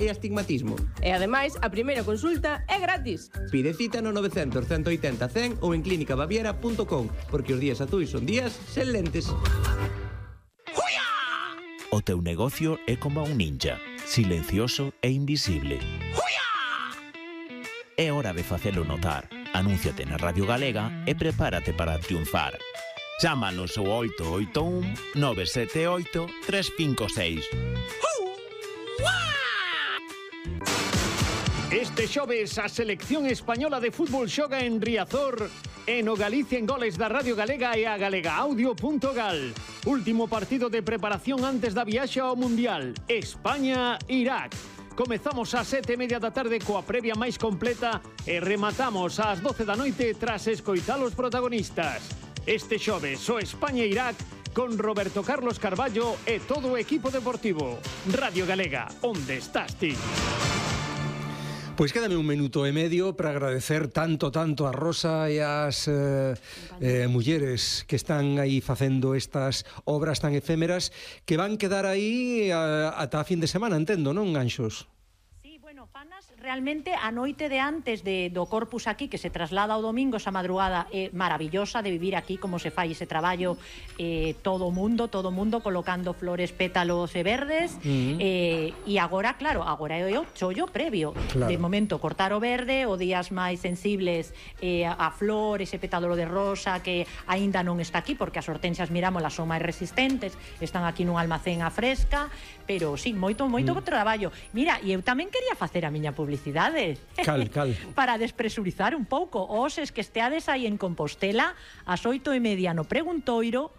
e astigmatismo. E ademais, a primeira consulta é gratis. Pide cita no 900 180 100 ou en clínicabaviera.com, porque os días azuis son días sen lentes. O teu negocio é como un ninja, silencioso e invisible. É hora de facelo notar. Anúnciate na Radio Galega e prepárate para triunfar. Chámanos ao 881 978 356. Este xoves a selección española de fútbol xoga en Riazor e no Galicia en Goles da Radio Galega e a galegaaudio.gal. Último partido de preparación antes da viaxe ao Mundial. España-Irak. Comezamos ás 7:30 da tarde coa previa máis completa e rematamos ás 12 da noite tras escoitar os protagonistas. Este xoves o España-Irak con Roberto Carlos Carballo e todo o equipo deportivo. Radio Galega, onde estás ti? Pois quédame un minuto e medio para agradecer tanto a Rosa e as mulleres que están aí facendo estas obras tan efémeras que van quedar aí ata a fin de semana, entendo, non, Anxos? Fanas realmente a noite de antes do Corpus aquí, que se traslada ao domingo, esa madrugada é maravillosa de vivir aquí, como se fai ese traballo, todo o mundo colocando flores, pétalos e verdes, e agora, claro, agora é o chollo previo, claro. De momento cortar o verde, o días máis sensibles a flor, ese pétalo de rosa que aínda non está aquí, porque as hortensias, mirámolas, son máis resistentes, están aquí nun almacén a fresca, pero sí, moito traballo. Mira, e eu tamén quería facer a miña publicidade. Cal. Para despresurizar un pouco. Oses que esteades aí en Compostela, ás 8:30 no Preguntoiro,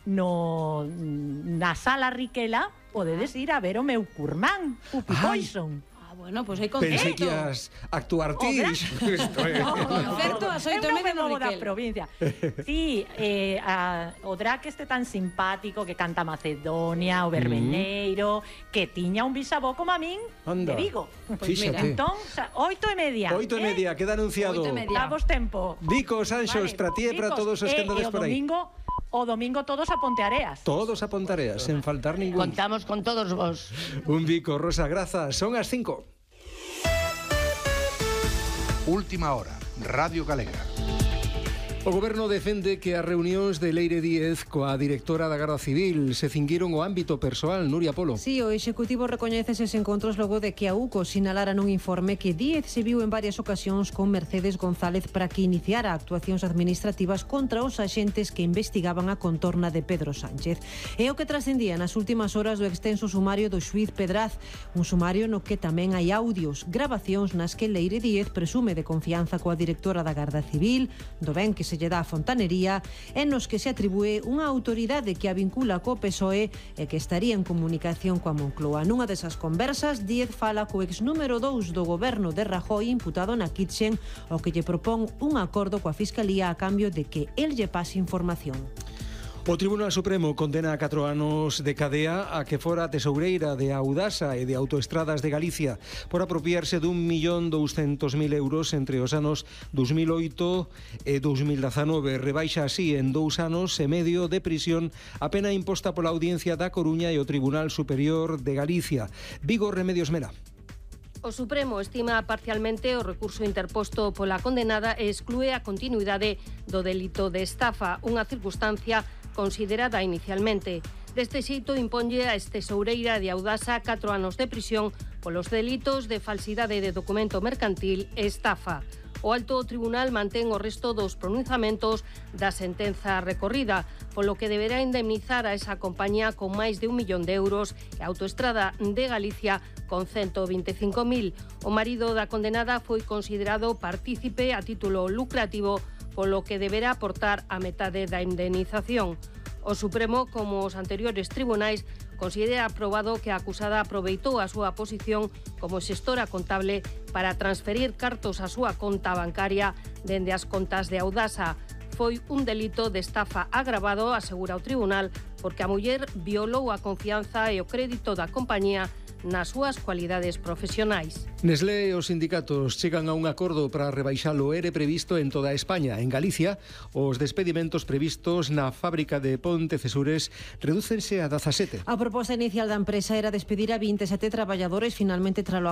na Sala Riquela, podedes ir a ver o meu curmán, Pupi Poison. Bueno, pois hai concerto. Pensei que ias actuar ti. Concerto ás 8:30 no da Riquel. provincia. Sí, o Drac este tan simpático que canta Macedonia, o Verbeneiro, que tiña un bisavó como a min de Vigo. Fíxate. Entón, 8:30. 8:30, queda anunciado. 8:30. Davos tempo. Dicos, Anxos, para ti e para todos os que andades por aí. O domingo todos a Ponteareas. Todos a Ponteareas, sen faltar ningún. Contamos con todos vos. Un bico, Rosa, grazas. Son as 5. Última hora, Radio Galega. O Goberno defende que as reunións de Leire Díez coa directora da Garda Civil se cinguiron o ámbito persoal. Nuria Polo. Sí, o Executivo recoñece eses encontros logo de que a UCO sinalara nun informe que Díez se viu en varias ocasións con Mercedes González para que iniciara actuacións administrativas contra os axentes que investigaban a contorna de Pedro Sánchez. É o que trascendía nas últimas horas do extenso sumario do xuíz Pedraz, un sumario no que tamén hai audios, grabacións nas que Leire Díez presume de confianza coa directora da Garda Civil, do ben que se lle dá a fontanería, e nos que se atribúe unha autoridade que a vincula co PSOE e que estaría en comunicación coa Moncloa. Nunha desas conversas, Díez fala co ex número 2 do goberno de Rajoy imputado na Kitchen, o que lle propón un acordo coa Fiscalía a cambio de que el lle pase información. O Tribunal Supremo condena a 4 anos de cadea a que fora tesoureira de Audasa e de Autoestradas de Galicia por apropiarse d'1.200.000 euros entre os anos 2008 e 2019. Rebaixa así en 2 anos e medio de prisión a pena imposta pola Audiencia da Coruña e o Tribunal Superior de Galicia. Vigo, Remedios Mera. O Supremo estima parcialmente o recurso interposto pola condenada e exclúe a continuidade do delito de estafa, unha circunstancia considerada inicialmente. Deste xeito imponlle a tesoureira de Audasa 4 anos de prisión polos delitos de falsidade de documento mercantil e estafa. O Alto Tribunal mantén o resto dos pronunciamentos da sentenza recorrida, polo que deberá indemnizar a esa compañía con máis de 1 millón de euros e a Autoestrada de Galicia con 125.000. O marido da condenada foi considerado partícipe a título lucrativo, polo que deberá aportar a metade da indemnización. O Supremo, como os anteriores tribunais, considera aprobado que a acusada aproveitou a súa posición como xestora contable para transferir cartos á súa conta bancaria dende as contas de Audasa. Foi un delito de estafa agravado, asegura o tribunal, porque a muller violou a confianza e o crédito da compañía nas súas cualidades profesionais. Nestlé e os sindicatos chegan a un acordo para rebaixar o ERE previsto en toda España. En Galicia, os despedimentos previstos na fábrica de Pontecesures redúcense a 17. A proposta inicial da empresa era despedir a 27 traballadores, finalmente tralo